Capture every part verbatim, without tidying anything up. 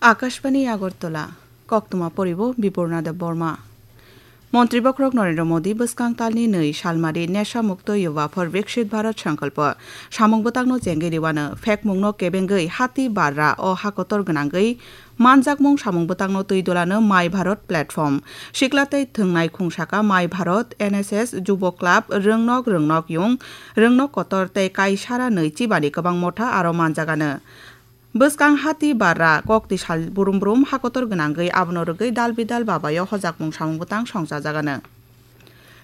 Akashbani Agartala, koktwma poribo Bipurna Debbarma. Montri bokhorok Narendra Modi bwskang talni nwi salmari Nesha Mukto Yuva for Viksit Bharat Sankalpa samung bwtangno chengwi rwano, phekmungno kebengwi hati barra o hakotor gwnangwi manjakmung samung bwtangno twi dolano My Bharat Platform, sikla tei thwngnai khungsaka My Bharat, N S S, Jubo Club, Rwngnok Rwngnok Yung, Rwngnok Kotor tei Kaisara nwi chibani kwbang motha aro manjagano. Bwskang hati barra kokti sal brum brum hakotor gwnangwi abono rwgwi dal bidal babayo hojakmung samung bwtang songchajagano.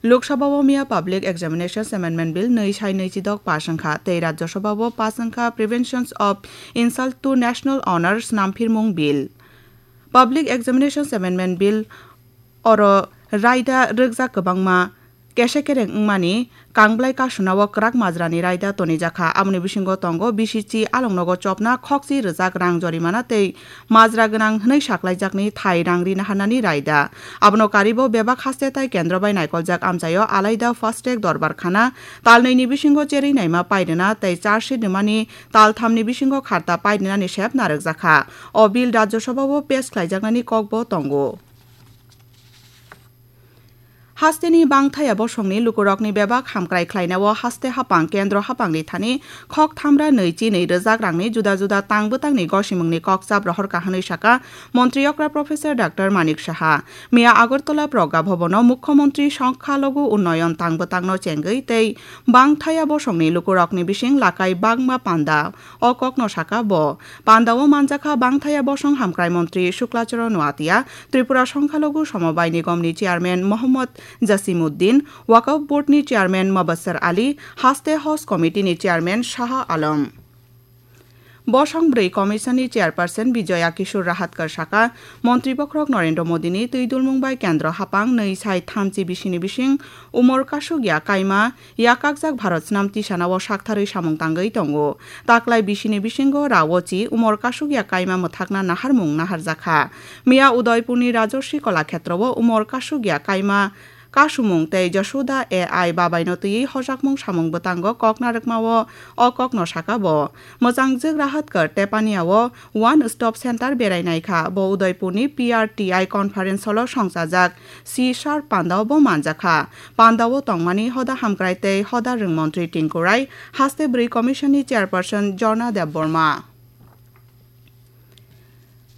Lok Sabha o miya Public Examinations Amendment Bill nwi sai nwi chidok pass wngkha tei Rajya Sabha o pass wngkha Preventions of Insult to National Honour Snamphirmung Bill. Public Examinations Amendment Bill oro raida rwkjak kwbangma kesa kereng wngmani kangblai kasunao kwrak majrani raida tonijakha. Aboni bisingo tongo bisichi alongnogo chopna, khokchi rwjak rang jorimana tei majra gwnang hwnwi saklaijakni thai rang rina hanani raida. Abono karibo bebak haste tai kendro bai naikoljak amchaio alaida fast track dorbar khana, talnwini bisingo cherwi naima pairwna tei charge sheet rwmani talthamni bisingo kharta pairwnani sep narwkjakha. O bill Rajya Sabha o pass khlaijaknani kokbo tongo. Hasteni bangthaya bosongni lukurokni bebak hamkrai khlainao haste hapang kendro hapangni thani khok thamra nwi chi nwi rwjak rangni juda juda tang bwtangni gosimungni kok chap rohorkha hwnwi saka Montri okra Professor Doctor Manik Saha. Miya Agartala Progga Bhabono Mukhyamantri Songkhalogu Unnoyon tang bwtangno chengwi tei bangthaya bosongni lukurokni bising lakai bangma panda. O kokno saka bo. Pandao manjakha bangthaya bosong hamkrai montri Shukla Charan Noatia, Tripura Songkhalogu Somobai Nigomni chairman Mohammad Jasimuddin, Waqf Boardni chairman Mubassar Ali, Haste House Committeeni chairman Shaha Alam. Bosong bwrwi commissionni chairperson Bijoya Kishore Rahatkar saka, montri bokhorok Narendra Modini twi dulmung bai kendro hapang nwi sai thamchi bisini bising umor kasuk ya kaima yakakjak Bharat snam tisanao saktharwi samung tangwi tongo. Taklai bisini bisingo Raochi umor kasuk ya kaima mwthakna naharmung naharjakha. Miya Udaipurni Rajarshi Kalakshetrowo umor kasuk ya kaima kasumung tei Jashoda A I babaino twiwi hojakmung samung bwtango kok narwkmao o kokno saka bo. Mwchangjwk Rahatkar Tepaniao One Stop Center berai naikha. Bo Udaipurni P R T I conference hall-o songchajak. Si sar pandao bo manjakha. Pandao tongmani hoda hamkrai tei hoda rwng montri Tinku Rai, haste bwrwi commissionni chairperson Jorna Debbarma.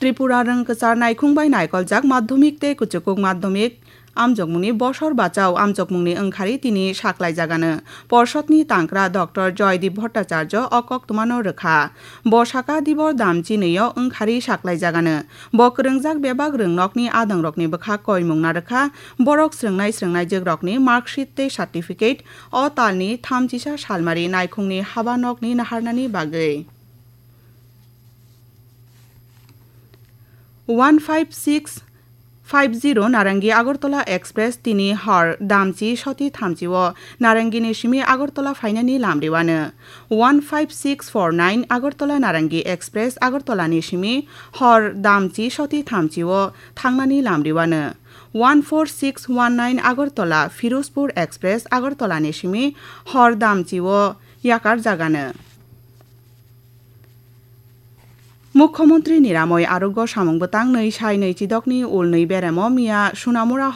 Tripura rwng kwchar naikhung bai naikoljak madhyamik tei kuchukuk madhyamik amjokmungni bosor bachao amjokmungni wngkhari tini saklaijagano. Porshotni tangkra Doctor Joydeep Bhattacharya o koktwmano rwkha. Bo saka Dibor Damchi nwi-o wngkhari saklaijagano. Bo kwrwngjak bebak rwngnokni adongrokni bwkha koimung narwkha, borok srwngnai srwngnaijwkrokni marksheet tei certificate o talni thamchisa salmari naikhungni haba nokni naharnani bagwi. One five six five zero Narangi Agartala Express tini hor damchi soti thamchi o Narangini simi Agartala phainani lamriwano. One five six four nine Agartala Narangi Express Agartala ni simi hor damchi soti thamchi o thangnani lamriwano. One four six one nine Agartala Firozpur Express Agartala ni simi hor damchi o yakar jagano. Mukhyamantri Niramoi Arogya samung bwtang nwi sai nwi chidokni ulnwi beremo miya Sunamura